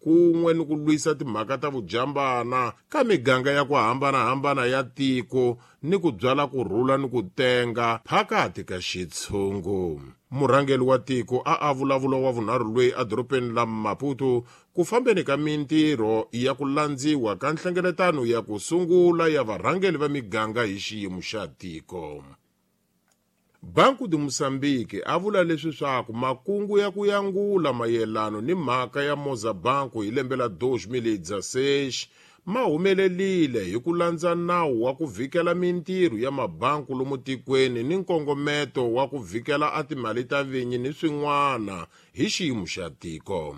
Kun'we ni ku lwisa timhaka ta vujambana ka miganga ya ku hambana-hambana ya tiko ni ku byala ku rhula ni ku tenga phakati ka xitshungu. Murhangeri wa tiko a a vulavula wa vunharhu lweyi edorobeni la Maputo ku fambeni ka mintirho ya ku landziwa ka nhlengeletano ya ku sungula ya varhangeri va miganga hi xiyimo xa tiko. Banco de Moçambique a vula leswi swaku makungu ya ku yangula mayelano ni mhaka ya Mozabanco hi lembe la 2016 ma humelelile hi ku landza nawu wa ku vhikela mintirho ya mabanku lomu tikweni ni nkongometo wa ku vhikela a timali ta vinyi ni swin'wana hi xiyimo xa tiko.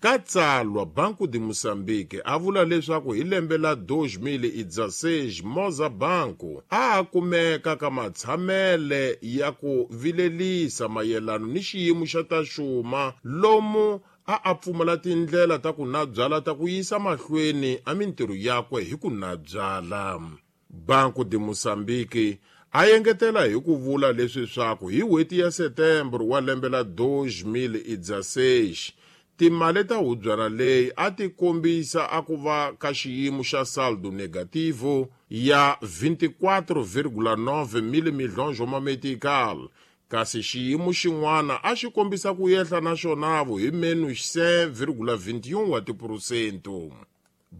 Ka tsalwa, Banco de Moçambique a vula leswaku hi lembe la 2016 Moza Banco a a kumeka ka matshamele ya ku vilelisa mayelano ni xiyimo xa ta xuma lomu a a pfumala tindlela ta ku nabyala ta ku yisa mahlweni a mintirho yakwe hi ku nabyala. Banco de Moçambique a engetela hi ku vula leswi swaku hi n'hweti ya Setembro wa lembe la 2016 timali ta hubyana leyi a ti kombisa a ku va ka xiyimo xa saldo negativo ya 24,9 mil milhões wa mametical kasi xiyimo xin'wana a xi kombisa ku yehla na xonavo hi menos 5,21 wa tiphurosento.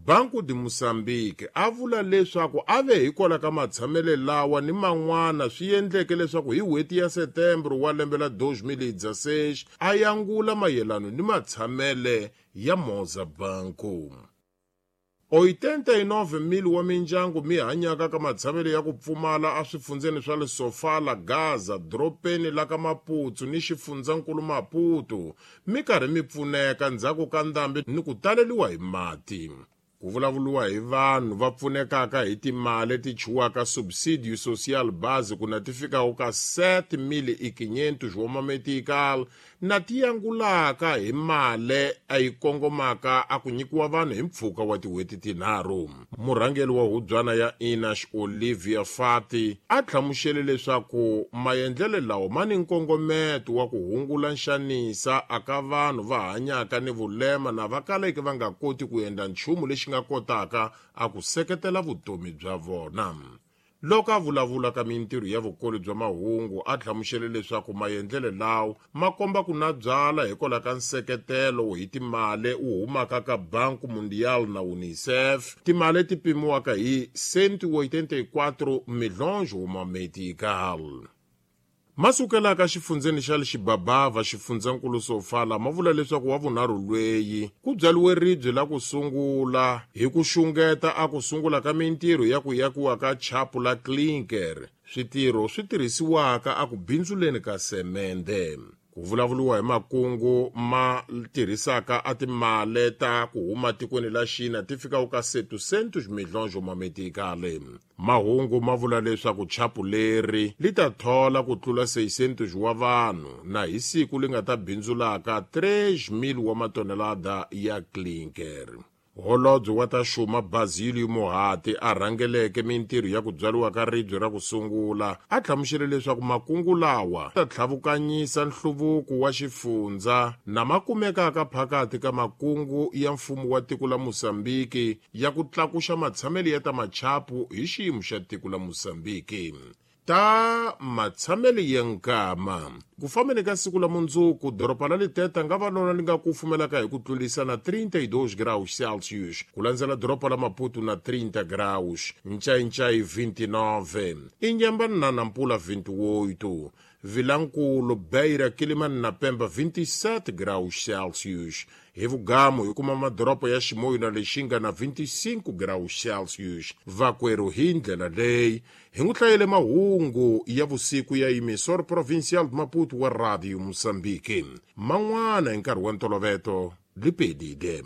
Banco de Moçambique a vula leswaku a ve hikwalaho ka matshamele lawa ni man'wana swi endleke leswaku hi n'hweti ya Setembro wa lembe la 2016 a yangula mayelano ni matshamele ya Moza Banco. 89,000 wa mindyangu mi hanyaka ka matshamelo ya ku pfumala eswifundzeni swa le Sofala, Gaza, doropeni la ka Maputsu ni xifundzankulu Maputo mi karhi mi pfuneka ndzhaku ka ndhambi ni ku taleliwa hi mati. Ku vulavuriwa hi vanhu va pfunekaka hi timali leti chuwaka subsidio social base ku na ti fikaka ka 7.500 wa mametical na ti yangulaka hi male a yi kongomaka a ku nyikiwa vanhu hi mpfhuka wa tin'hweti tinharhu. Murhangeri wa hubyana ya Inash Olivia Fati a hlamusele leswaku maendlelo lawa ma ni nkongometo wa ku hungula nxanisa aka vanhu va hanyaka ni vulema na va kaleke va nga koti ku endla nchumu lexi nga kotaka a ku seketela vutomi bya vona. Loko a vulavula ka mintirho ya vukoli bya mahungu a hlamusele leswaku maendlelo lawa ma komba ku na byala hikwalaho ka nseketelo hi timali wu humaka ka Banco Mundial na UNICEF, timali ti pimiwaka hi 184 milhões wa metical. Masukelaka xifundzeni xa le Xibabava xifundzankulu Sofala ma vula leswaku wa vunharhu lweyi ku byaliwe ribye la ku sungula hi ku xungeta a ku sungula ka mintirho ya ku yakiwa ka chapu la clinker, switirho swi tirhisiwaka a ku bindzuleni ka semende. Ku vulavuriwa hi makungu ma tirhisaka a timale ta ku huma tikweni la Xina ti fikaka ka 700 milhões ma metikale. Mahungu ma vula leswaku chapu leri li ta thola ku tlula 600 wa vanhu na hi siku li nga ta bindzulaka 3,000 wa matonelada ya clinker. Holobye wa ta xuma Basilio Mohati a rhangeleke mintirho ya ku byariwa ka ribye ra ku sungula a hlamusele leswaku makungu lawa ta tlhavukanyisa nhluvuko wa xifundza na ma kumekaka phakathi ka makungu ya mfumo wa tiko la Mozambique ya ku tlakuxa matshamelo ya ta machapu hi xiyimo xa tiko la Mozambique. Ta matshamelo ya nkama ku fambeni ka siku la mundzuku doroba la Liteta nga va lona li nga kufumelaka hi ku tlulisa na 32 graus Celsius ku landzela doroba la Maputo na 30 graus, Ncayincai 29, Inhambane na Nampula 28, Vilankulu, Beira, Quelimane na Pemba 27 graus Celsius. Hi vugamu hi kuma madoropo ya Chimoio na Lixinga na 25 graus Celsius. Vakwerhu hi ndlela leyi hi n'wi hlayele mahungu ya vusiku ya Emissor Provincial de Maputo wa Radio Mozambique. Man'wana hi nkarhi wa ntoloveto lipedile.